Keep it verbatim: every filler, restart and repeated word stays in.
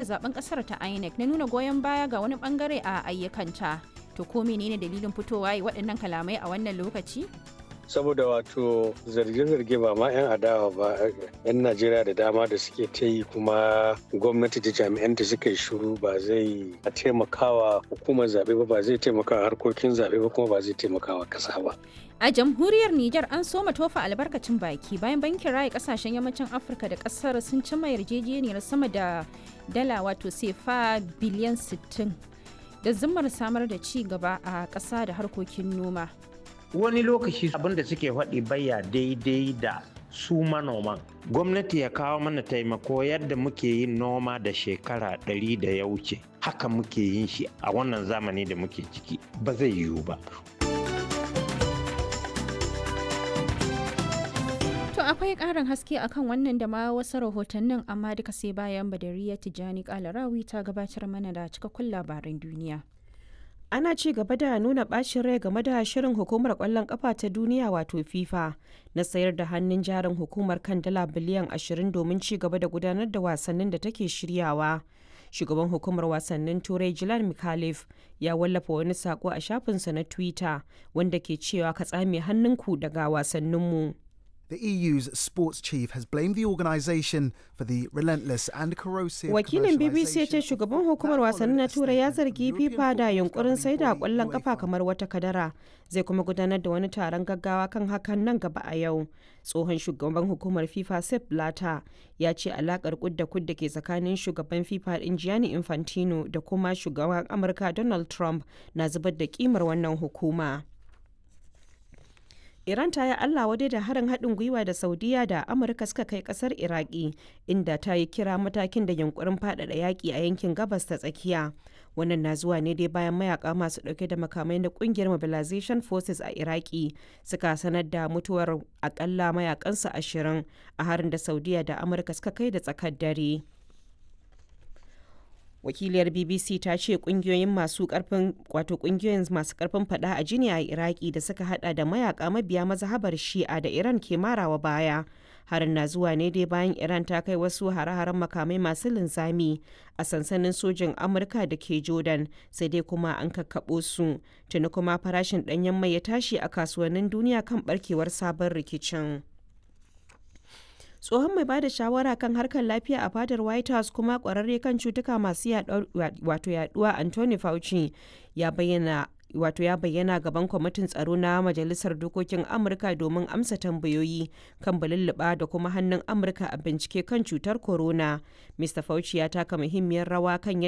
zaben kasar ta INEC na nuna goyon baya ga wani bangare a ayyukanta. To ko menene dalilin fitowa yi waɗannan kalamai a wannan lokaci? Saboda wato zarge-zarge ba ma 'yan adawa ba, 'yan Najeriya da dama da suke ta yi, kuma gwamnati da jami'anta suka yi shiru, ba zai taimakawa hukumar zaɓe ba, ba zai taimakawa harkokin zaɓe ba, kuma ba zai taimakawa ƙasa ba. A jamhuriyar Nijar an soma tofa albarkacin baki bayan bankin raya kasashen yammacin Afirka da kasar sun cimma yarjejeniyar sama da dala wato sefa biliyan sittin da zimmar samar da ci gaba a ƙasa da harkokin noma. Wani lokaci abin da suke faɗi baya daidai da su manoman. Gwamnati ya kawo mana taimako. Yadda muke yin noma da shekara ɗari da ya wuce, haka muke yin shi a wannan zamani da muke ciki, ba zai yiwu ba. To akwai ƙarin haske akan wannan da ma wasu rahotannin, amma duka sai bayan Badariya Tijjani Kalarawi ta gabatar mana da cikakkun labaran duniya. Ana ci gaba da nuna bacin rai game da shirin hukumar kwallon kafa ta duniya wato FIFA na sayar da hannun jarin hukumar kan dala biliyan ashirin domin ci gaba da gudanar da wasannin da take shiryawa. Shugaban hukumar wasannin Turai Jilan Mikhalif ya wallafa wani sako a shafinsa na Twitter wanda ke cewa ka tsame hannunku daga wasanninmu. The E U's sports chief has blamed the organisation for the relentless and corrosive Wakilin B B C ya ce shugaban hukumar wasannin na Turai ya zargi FIFA da yunkurin saida kwallon kafa kamar wata kadara. Zai kuma gudanar da wani taron gaggawa kan hakan nan gaba a yau. Tsohon shugaban hukumar FIFA Sepp Blatter ya ce alakar kudda kudda ke tsakanin shugaban FIFA din Gianni Infantino da kuma shugaban Amurka Donald Trump na zubar da kimar wannan hukuma. Iran ta yi Allah wadai da harin haɗin gwiwa da Saudiya da Amurka suka kai ƙasar Iraki, inda ta yi kira matakin da yunkurin faɗaɗa yaƙi a yankin Gabas ta Tsakiya. Wannan na zuwa ne dai bayan mayaka masu ɗauke da makamai na ƙungiyar Mobilization Forces a Iraki suka sanar da mutuwar akalla mayakansu ashirin a harin da Saudiya da Amurka suka kai da tsakar dare. Wakiliyar B B C ta ce kungiyoyin masu karfin wato kungiyoyin masu karfin fada a jini a Iraki da suka hada da mayaka mabiya mazhabar Shi'a da Iran ke marawa baya. Harin na zuwa ne dai bayan Iran ta kai wasu hare-haren makamai masu linzami a sansanin sojin Amurka da ke Jordan, sai dai kuma an kakkaɓo su. Tuni kuma farashin ɗanyen mai ya tashi a kasuwannin duniya kan barkewar sabon rikicin. Tsohon mai bada shawara kan harkar lafiya a fadar White House kuma kwararre kan cutuka masu wato yaduwa Anthony Fauci ya bayyana wato ya bayyana gaban kwamitin tsaro na Majalisar Dokokin Amurka domin amsa tambayoyi kan balulluɓa da kuma hannun Amurka a bincike kan cutar corona. Mister Fauci ya taka muhimmiyar rawa kan yadda